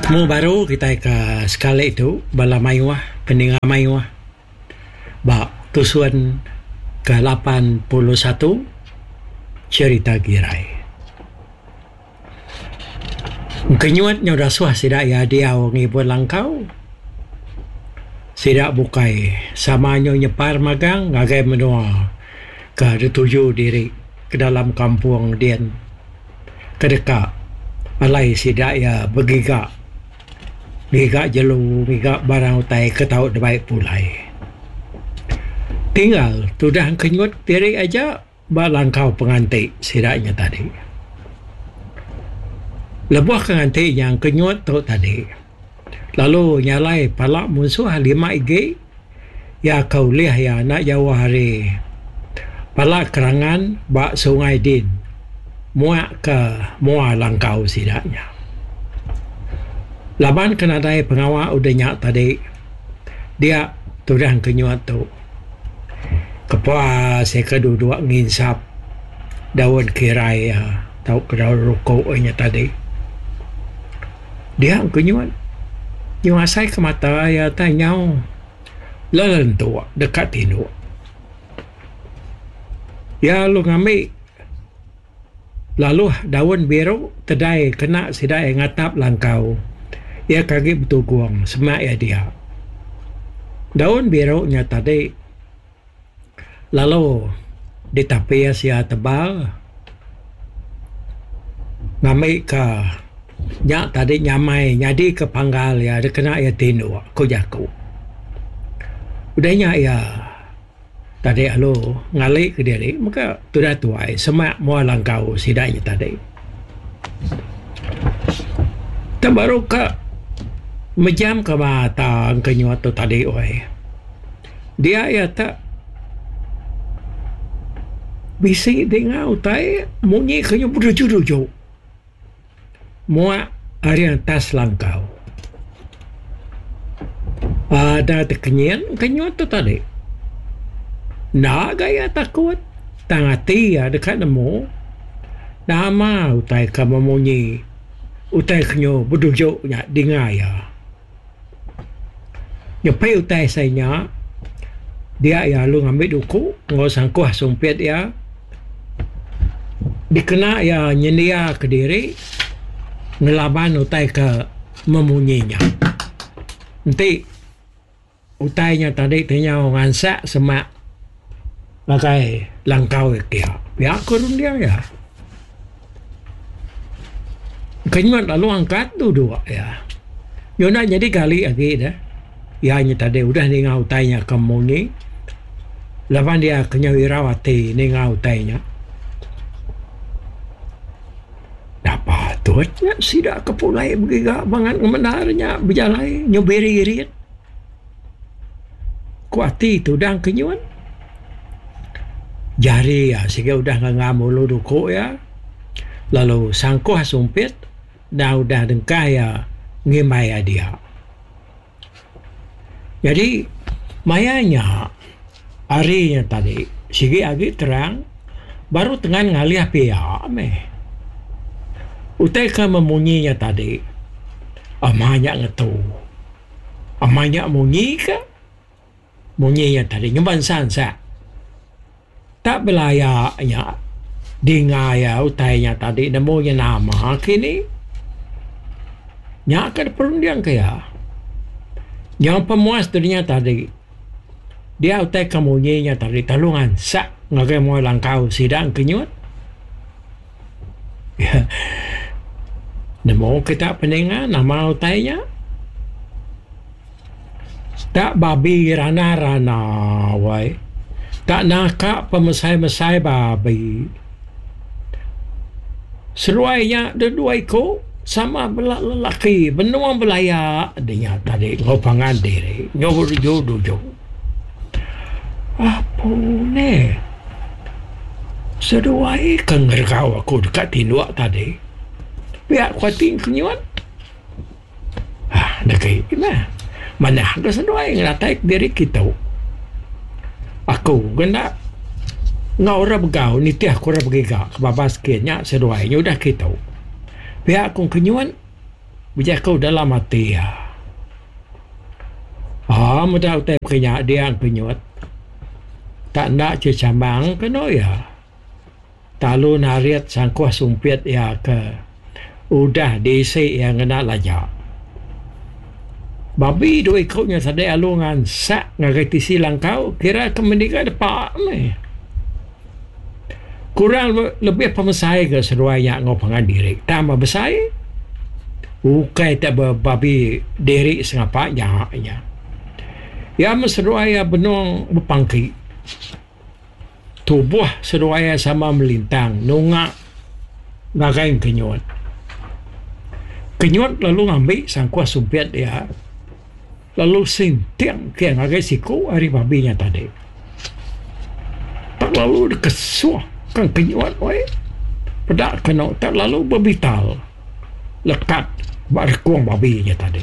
Betemu baru kitai ke sekali tu bala mayuh peninga mayuh ba tusun ke 81 Cherita Girai. Engkenyut nyau dasuh sida iya diau ngibun langkau. Sida bukai sama nyau nyepar magang ngagai menua ke dituju diri ke dalam kampung din ke deka alai sida iya begiga ngiga jelu ngiga barang utai ke tau dibai pulai. Tinggal tudah engkenyut diri aja. Ba langkau penganti sida nya tadi. Lebuh ke nganti nya engkenyut tu tadi lalu nyalai pala munsuh lima igi iya ke ulih iya enda jauh ari pala kerangan ba sungai din muak ke mua langkau sida nya. Laban ke nadai pengawa udah nya tadi dia tudah engkenyut tu. Kepuas iya ke duduk nginsap daun kirai iya tauka daun rukuk iya nya tadi. Dia ku nyut, nyau asai ke mata iya tai nyau lelentuk deka tinduk. Iya lalu ngambi laluh daun biru tedai kena sida iya ngatap langkau iya ke agi betugung semak iya dia. Daun biru nya tadi lalu ditapis iya tebal ngambika nya tadi nyamai nyadika panggal iya dikena iya tinduk, ku jaku. Udah nya iya. Tadi alu ngali kediri mega tudah tuai semak mua langkau sida nya tadi. Tang baru ka mejam ka mata engka nyuat tu tadi weh. Dia iya te bisi dinga utai munyi ke nyau beruju-ruju. Muak ari atas langkau. Ada tekenyit kenyut tu tadi. Enda ga iya takut tang ati iya deka nemu nama utai ke memunyi utai ke nyu beduju nya dinga iya. Nyepi utai sai nya dia iya lalu ngambi duku enggau sangkuh sumpit iya dikena iya nyendia kediri ngelaban utai ke memunyi nya. Enti utai nya tadi ti nyau ngansak semak ngagai langkau iya pia ku runding iya. Kenyut lalu angkat duduk iya. Nyau enda nyadi gali agi deh. Iya nya tadi udah ninga utai nya ke munyi laban iya ke nyau irau ati ninga utai nya. Napa patut nya sida ke pulai begiga bangat ngemendar nya bejalai nyau biri-irit. Ku ati tudang kenyut. Jari iya siga udah ngangam ulu duku iya lalu sangkuh sumpit enda udah dengkah iya ngimbai iya dia. Nyadi maya nya hari nya tadi sigi agi terang baru tengan ngalih pia meh. Utai ke memunyi nya tadi ama nya ngetu ama nya munyi ka. Munyi nya tadi nyemba ansa-ansa. Tak belaya nya dinga iya utai nya tadi nemu nya nama kini. Nya ka diperunding ka iya. Nyau pemuas dunya tadi dia utai ka munyi nya tadi telu ngansa ngagai mua langkau sida engkenyut. Nemu kita peninga nama utai nya. Tak babi rana-rana wai. Tak naka pemesai-mesai babi. Seruai nya dedua iku sama bela lelaki benung belaya dinya tadi enggau pangan diri enggau beruju-ruju. Apu neh. Seduai ke ngeregau aku deka tinduk tadi. Pia ku ati kenyut. Aaa deka meh manah ga seduai ngelatai kediri kitu. Aku ga enda enggau orang begau nitih ku orang begiga ke babas kin nya seduai nyudah kitu. Pia ku kenyut. Bejaku dalam ati iya. Aa meda utai baka nya dia engkenyut. Tak enda chechamang kenu iya. Talu narit sangkuh sumpit iya ke udah diisi iya ngena laja. Babi dua iku nya tadi alu ngansak ngagai tisi langkau kira ke mendiga depa meh. Kurang lebih pemesai ga seduai nya enggau pangan diri tang ba besai ukai te bebabi diri sengapa nya nya. Iya meh seduai iya benung bepangki. Tubuh seduai iya sama melintang nunga ngagai Kenyut. Kenyut lalu ngambi sangkuh sumpit iya lalu sinting ke ngagai siku ari babi nya tadi. Tak lalu dikesuh ka Kenyut weh peda kenu tak lalu bebital lekat ba rekung babi nya tadi.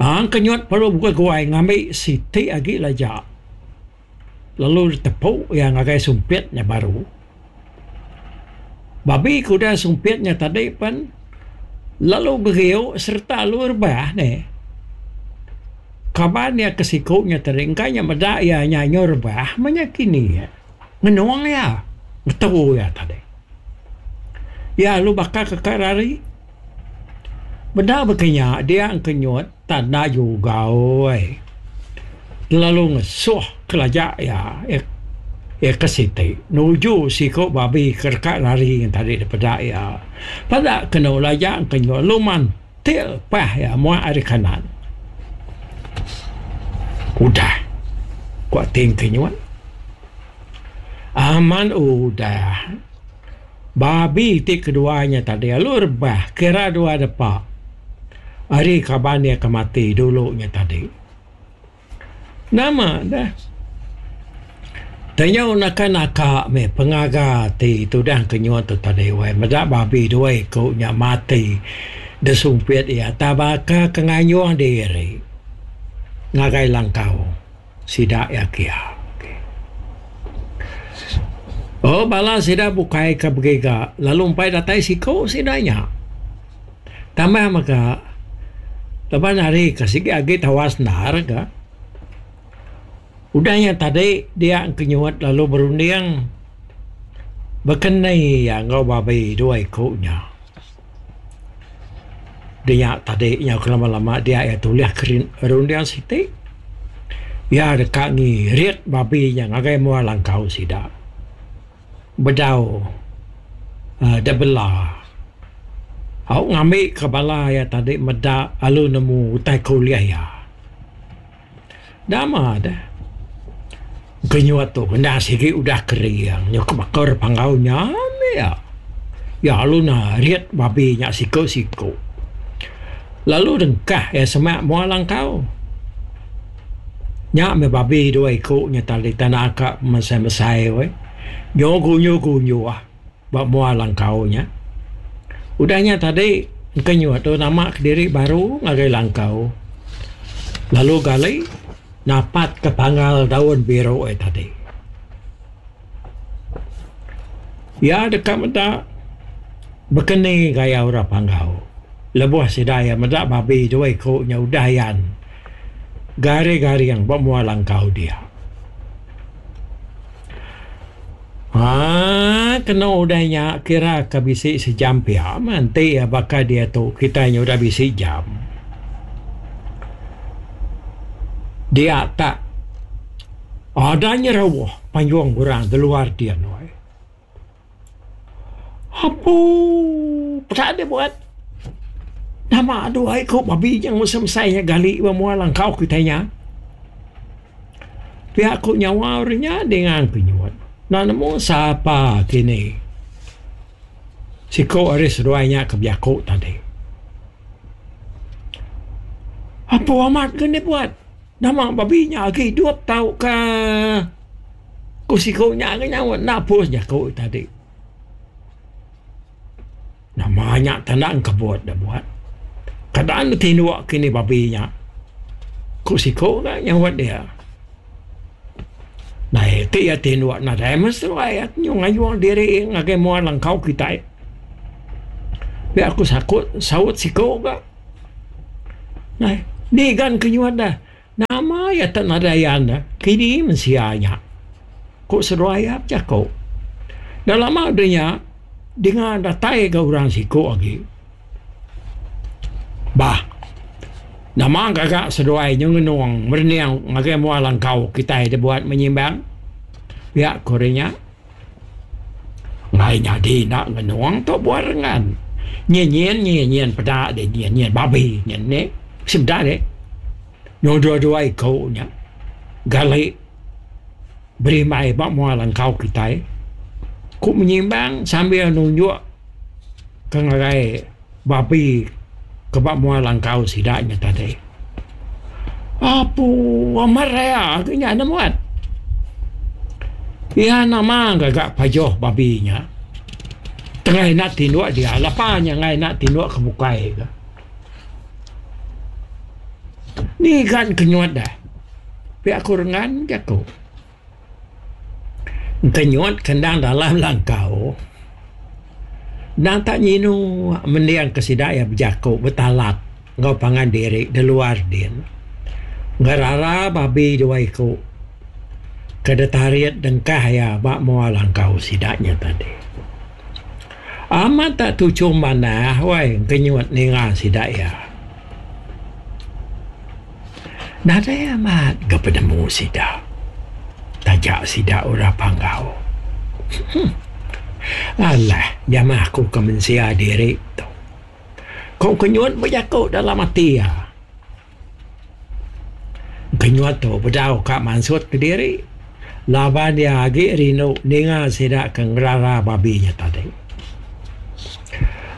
Ang kenyut perlu beguai ngambi siti agi laja lalu ditepu iya ngagai sumpit nya baru. Babi ke udah sumpit nya tadi pen lalu beriu sereta lalu rebah neh. Kaban iya ke siku nya tadi engka nya meda iya nya nyau rebah meh nya kini ngenung iya ngetu iya tadi. Iya lalu baka ke ka rari. Benda baka nya dia engkenyut tanda juga oi. Lalu ngesuh kelaja iya iya ke siti nuju siku babi ke deka lari tadi dipeda iya. Peda kenu laja engkenyut lalu mantil pah iya muak ari kanan. Udah, ku ati engkenyut. Aman udah. Babi ti kedua nya tadi lalu rebah kira dua depa ari kaban iya ke mati dulu nya tadi. Nama deh Tanyau naka naka meh pengaga ti tudah kenyut tu tadi weh meda babi dua iku nya mati disumpit iya tabaka ke ngayung diri ngagai langkau. Sida iya kia. Oh bala sida bukai ke begiga lalu empai datai siku sida nya. Tambah mega laban hari ke sigi agi tawas endar ga. Udah nya tadi dia engkenyut lalu berunding bekeni iya enggau babi dua iku nya. Dia tadi nyau kelama-lama dia iya tulih ke runding siti. Iya deka ngirit babi nya ngagai mua langkau sida. Bedau uhh da bela. Au ngambi ka bala iya tadi meda lalu nemu utai ke ulih iya. Nama deh. Kenyut tu enda sigi udah kering nyau ke baka orang panggau nya meh iya. Iya lalu narit babi nya siku-siku. Lalu dengkah iya semak mua langkau. Nya meh babi dua iku nya tadi tanda ka mesai-mesai weh. Nyau gunyu-gunyu ba mua langkau nya. Udah nya tadi engkenyut tu nama kediri baru ngagai langkau lalu gali napat ke panggal daun biru ai tadi. Iya deka meda bekeni gaya orang panggau lebuh sida iya meda babi dua iku nya udah ayan garing-garing ba mua langkau dia. Haa kenu udah nya kira ka bisi sejam pia meh enti iya baka diatu kitai nya udah bisi jam. Dia tak ada nyerauh panjung orang di luar din weh. Apuu peda deh buat nama dua iku babi nya mesai mesai nya gali ba mua langkau kitai nya. Pia ku nyawa orang nya dinga ku nyuat. Enda nemu sapa kini. Siku ari seduai nya ke bejaku tadi. Apu amat ke enda buat. Nama babi nya agi idup tauka ku siku nya ke nyaut enda pus jaku tadi. Nama nya tanda engkebut da buat. Kada ne tinduk kini babi nya. Ku siku ga nyaut dia. Nai ti iya tinduk nadai meh seduai iya nyu ngayung diri ngagai mua langkau kitai. Pia ku sakut saut siku ga. Nai, ni gan ke nyuat dah. Nama iya tak nadai ayan dah, kini mensia nya. Ku seduai iya bejaku. Enda lama udah nya, dinga datai ga orang siku agi. Bah, nama gaga seduai nyu ngenung merening ngagai mua langkau kitai dibuat menyimbang? Pia ku ari nya. Enggai nyadi enda ngenung tu buah rengan. Nyin nyin nyin nyin peda deh nyin nyin babi nyin nih bisi meda deh. Nyau dua-dua iku nya gali berimbai ba mua langkau kitai ku menyimbang sambil nunjuk ke ngagai babi ke ba mua langkau sida nya tadi. Apu amat raya ke nya ne muat. Iya nama gaga pajoh babi nya. Tengah ina tinduk dia lapa nya enggai ina tinduk ke bukai ka. Ni gan kenyut deh. Pia ku rengan jaku. Kenyut ke endang dalam langkau endang tak nyinu mending ke sida iya bejaku betalat enggau pangan diri da luar din. Ngerara babi dua iku ke ditarit dengkah iya ba mua langkau sida nya tadi. Amat tak tuchum manah wai kenyut ninga sida iya. Nadai amat ga penemu sida taja sida orang Panggau. Alah jamah aku ke mensia diri tu. Ku Kenyut bejaku dalam ati iya. Kenyut tu bedau ka mansut kediri laban iya agi rindu ninga sida ke ngerara babi nya tadi.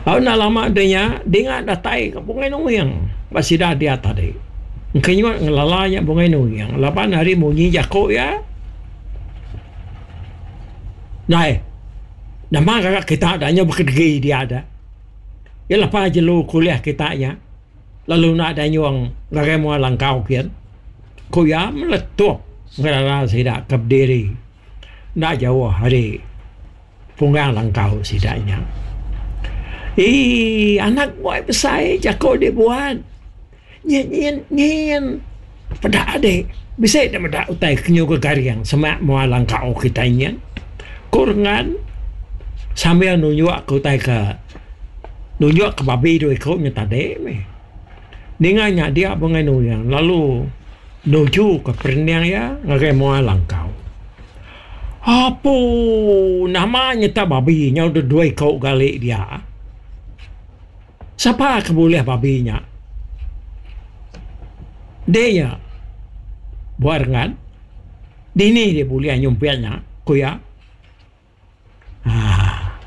Au enda lama deh nya dinga datai ka Bungai Nuing ba sida dia tadi. Engkenyut ngelala nya Bungai Nuing laban ari munyi jaku iya. Ndai nama ngaga kita da nyau bekedegi dia da. Iya lepa jelu kulih kita nya lalu enda danyung ngagai mua langkau kin. Ku iya meletup ngelala sida ke bediri enda jauh ari. Punggang langkau sida nya. Ii anak buai besai jako dibuat. Nyin nyin nyin peda ade bisi ne meda utai ke nyuga garing semak mua langkau kitai nyin. Ku Rengan sambil nunjuk ke utai ke nunjuk ke babi dua iku nya tadi mih. Ninga nya dia Bungai Nuing lalu nuju ke perening iya ngagai mua langkau. Apu nama nyeta babi nyau deh dua iko gali dia. Sapa ke bulih babi nya? Deh nya buah rengan. Dini deh bulih nyumpit nya ku iya. Haa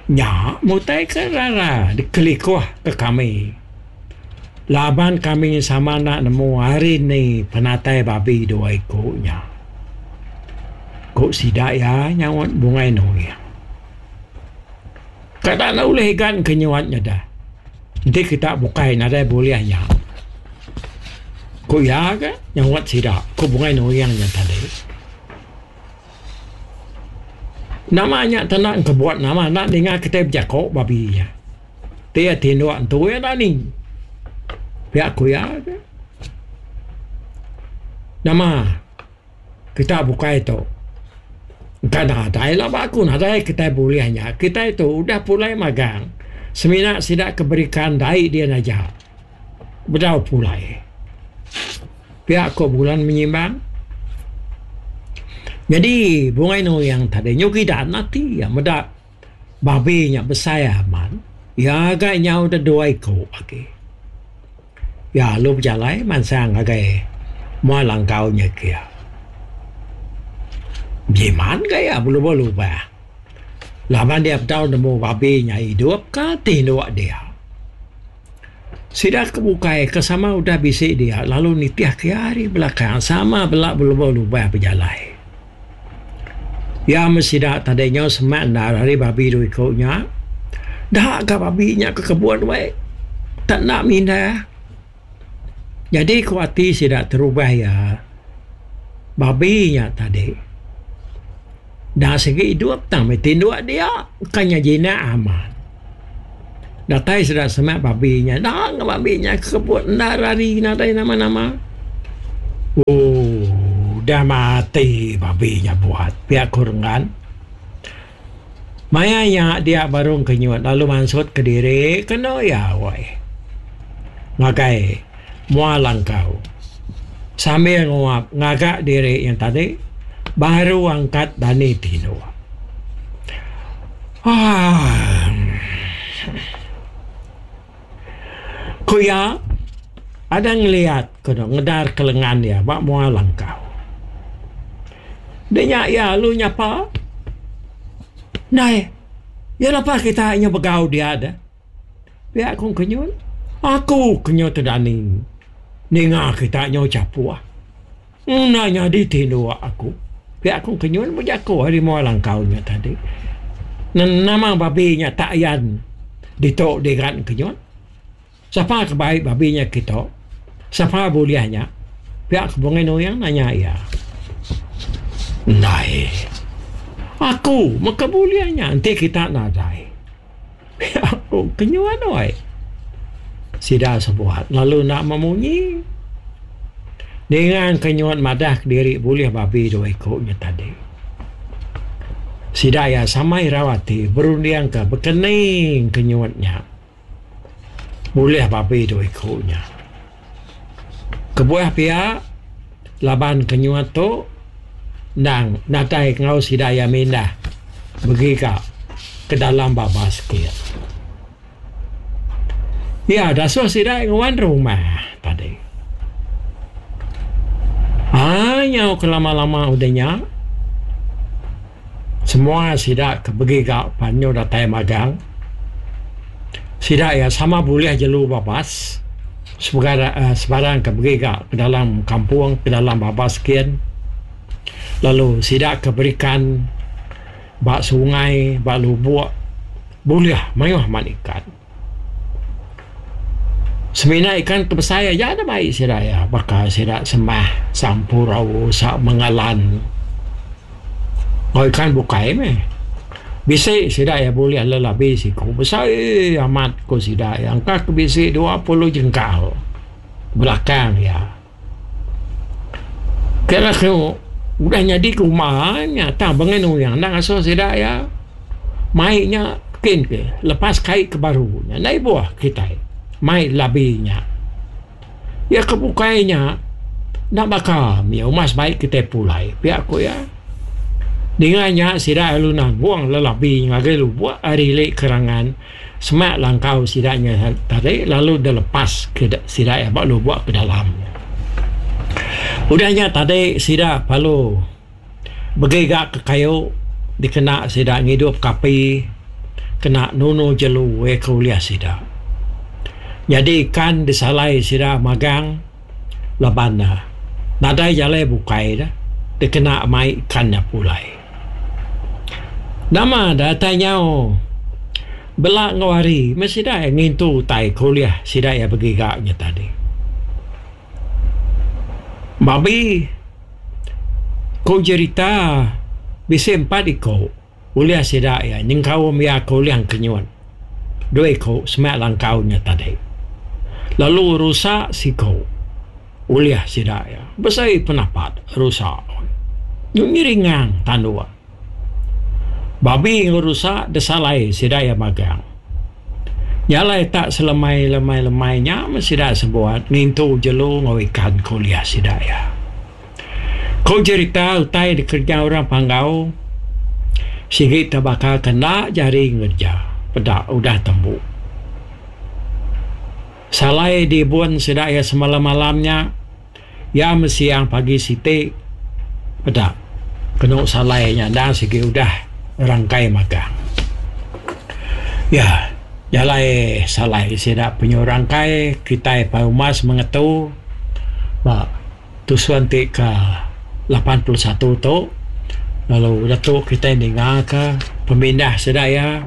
nya mutai ke rara dikelikuh ke kami laban kami sama enda nemu hari ni penatai babi dua iku nya. Ku sida iya nyaut Bungai Nuing. Kada enda ulih igan ke nyuat nya dah enti kita bukai nadai bulih nya. Ku iya ga nyaut sida ku Bungai Nuing nya tadi. Nama nya tanda engkebut nama enda ninga kitai bejako babi nya. Ti iya tinduk entu iya dani. Pia ku iya ke. Nama kita bukai tu engka nadai laba aku nadai kitai bulih nya. Kitai tu udah pulai magang semina sida ke berikan dai din aja bedau pulai. Pia ko bulan menyimbang. Nyadi Bungai Nuing tadi nyu gidan ati iya meda babi nya besai amat. Iya ga nyau da dua iku agi. Iya lalu bejalai mansang ngagai mua langkau nya kia. Bejimat ga iya belubah-lubah laban iya bedau nemu babi nya idup ka tinduk dia. Sida ke bukai ke sama udah bisi dia lalu nitih ke iya ari belakang sama bela belubah-lubah bejalai. Iya meh sida tadi nyau semak endar ari babi dua iku nya. Da ga babi nya ke kebun weh. Tak enda mindah. Nyadi ku ati sida terubah iya babi nya tadi da sigi idup tang meh tinduk dia bukan nya jinak amat. Datai sida semak babi nya, enda enggau babi nya kebut enda rari nadai nama-nama. Ooh udah mati babi nya buat, pia ku Renggan. Maya nya dia baru Engkenyut lalu mansut kediri kenu iya wai ngagai mua langkau. Sambil nguap ngaga diri nya tadi baru angkat dani tinduk. Aaa. Ku iya, ada ngeliat kenu ngedar ke lengan iya ba mua langkau. Dinya iya lalu nyapa, Ndai, iya lapa kita inya begau dia deh? Pia ku Kenyut. Aku Kenyut tedani ninga kita nyau chapuh. Enda nyadi tinduk aku. Pia ku Kenyun bejaku ari mua langkau nya tadi. Nama babi nya tak ayan ditu digan Kenyun. Sapa ke bai babi nya kitu? Sapa bulih nya? Pia ku Bungai Nuing nanya iya. Ndai. Aku meka bulih nya enti kita nadai. Pia ku Kenyun wai. Sida sebuat lalu enda memunyi. Ninga Kenyun madah kediri bulih babi dua iku nya tadi. Sida iya sama irau ati berundingka bekening Kenyun nya bulih babi dua iku nya. Kebuah pia laban Kenyun tu endang nadai enggau sida iya mindah begiga ke dalam babas kin. Iya dasuh sida nguan rumah tadi. Aa nyau ke lama-lama udah nya semua sida ke begiga pan nyau datai magang. Sida iya sama bulih jelu babas sebarang ke begiga ke dalam kampung ke dalam babas kin lalu sida ke berikan ba sungai ba lubok. Bulih mayuh amat ikan. Semina ikan ke besai aja da bai sida iya baka sida semah, sampurau, sa mengalan enggau ikan bukai meh. Bisi sida iya bulih lelabi siku besai amat ku sida iya engka ke bisi 20 jengkal belakang iya. Kira ku udah nyadi ke uma nya tang bengai nuyang enda ngasuh sida iya mai nya kin ke lepas kai ke baru nya enda ibuh kitai mai labi nya. Iya ke bukai nya enda baka mih umas bai kitai pulai pia ku iya. Ninga nya sida lalu nanggung lelabi ngagai lubok ari ili kerangan. Semak langkau sida nya tadi lalu dilepas ke sida iya ba lubok ke dalam. Udah nya tadi sida perlu begiga ke kayu dikena sida ngidup ke api kena nunu jelu iya ke ulih sida. Nyadi ikan disalai sida magang laban ne nadai jalai bukai ne dikena mai ikan nya pulai. Nama datai nyau bela enggau hari meh sida iya ngintu utai ke ulih sida iya begiga nya tadi. Babi ku jerita bisi empat iku ulih sida iya nyengkaum iya ke ulih engkenyut dua iku semak langkau nya tadi. Lalu rusa siku. Ulih sida iya besai penapat rusa ngiringang tanduk. Babi enggau rusa disalai sida iya magang. Nya alai tak selemai lemai lemai nya meh sida sebuat ngintu jelu enggau ikan ke ulih sida iya. Ku jerita utai dikereja orang Panggau sigi tebaka ke enda jari ngereja peda udah tembu. Salai diibun sida iya semalam-malam nya, iya mesiang pagi siti peda kenu salai nya endang sigi udah rangkai magang. Iya jalai salai sida penyu rangkai kitai pai umas mengetu ba Tusun ti ke 81 tu lalu udah tu kitai ninga ka pemindah sida iya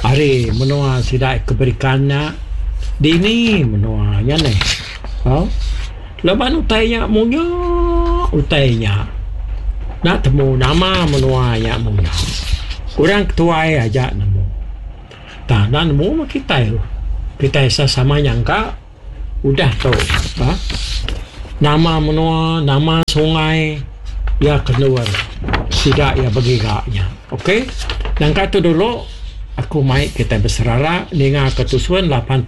ari menua sida ke berikan nya dini menua nya neh. Au laban utai nya munya utai nya enda temu nama menua nya munya. Orang ketuai aja nemu. Tang enda nemu meh kitai. Kitai sama nyangka udah tu uhh nama menua nama sungai iya ke endur sida iya begiga nya. Ok nangka tu dulu aku mai kitai beserara ninga ke tusun 81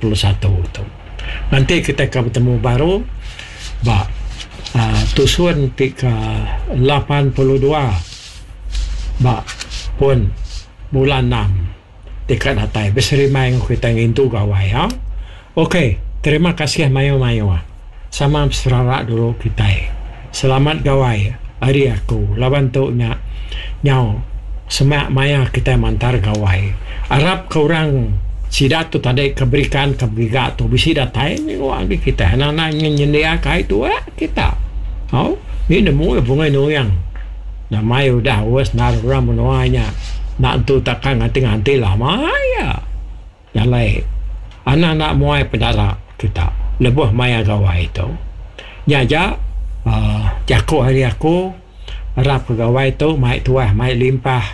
tu. Nganti kitai ke betemu baru ba uhh tusun ti ke 82 ba pun bulan enam. Deka datai beserimbai enggau kitai ngintu gawai ha. Ok terima kasih mayuh mayuh. Sama beserara dulu kitai. Selamat gawai ari aku laban tu nya nyau semak maya kitai mantar gawai. Arap ke orang sida tu tadi ke berikan ke begiga tu bisi datai minggu agi kitai anang anang nyendia ka ai tuak kita. Au ni nemu bungai nuing. Nama iya udah aus endar orang menua nya enda entu takang nganti-nganti lama iya. Jalai anak enda muai pedara kita lebuh maya gawai tu. Nya aja uhh jaku ari aku arap ke gawai tu mai tuah mai limpah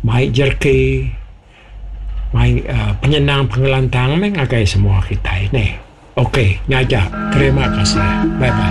mai jereki mai uhh penyenang pengelantang meh ngagai semua kitai neh. Ok nya aja terima kasih bye bye.